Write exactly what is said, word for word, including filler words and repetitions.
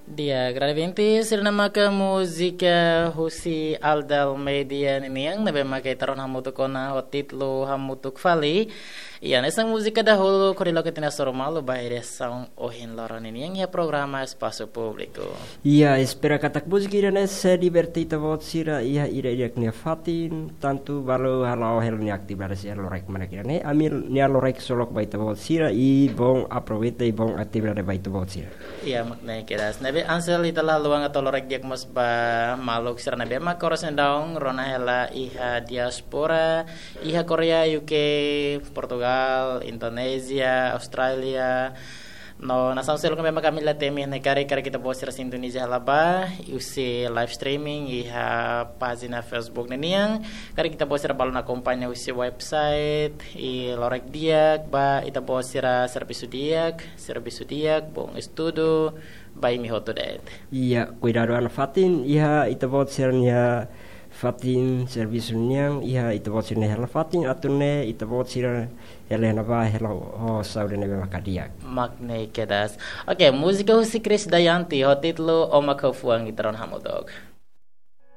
Di'ak, grande ouvinte, sira-ne'e maka múzika husi Aldal Media ninian, ne'ebé maka ita rona hamutuk ona ho títulu Hamutuk Fali. Iha hanesan múzika dahuluk, hodi loke ita-nia hasoru malu ba edisaun ohin loron ninian iha programa Espasu Públiku. Iha, espera katak múzika ida-ne'e sei diverte ita-boot sira iha ida-idak nia fatin, tantu balu hala'o hela nia atividade sira lorokraik mak ne'e. Ami-nia lorokraik solok ba ita-boot sira, i bom aproveita i bom atividade ba ita-boot sira. Iha, mak ne'e kedas. Ne'ebé Ansel, ita la haluha atu lorokraik di'ak mós ba maluk sira ne'ebé maka oras ne'e daudaun rona hela iha diáspora, iha Koreia, U K, Portugal, Indonézia, Austrália, no nasaun seluk ne'ebé maka ami la temi ne'e, karik, karik ita-boot sira sintoniza hela ba husi live streaming iha pájina Facebook ninian, karik ita-boot sira balun akompaña husi website, i lorokraik di'ak ba ita-boot sira, servisu di'ak, servisu di'ak, bom estudu ba imi hotu de'it. Iha, kuidadu an fatin, iha ita-boot sira-nia fatin servisu nian, iha ita-boot sira-nia hela fatin, atu nune'e ita-boot sira hela iha-ne'ebá hela ho saúde ne'ebé maka di'ak. Mak ne'e kedas. Oke, múzika husi Krisdayanti ho títulu Ó Mak Ha'u Fuan, ita rona hamutuk.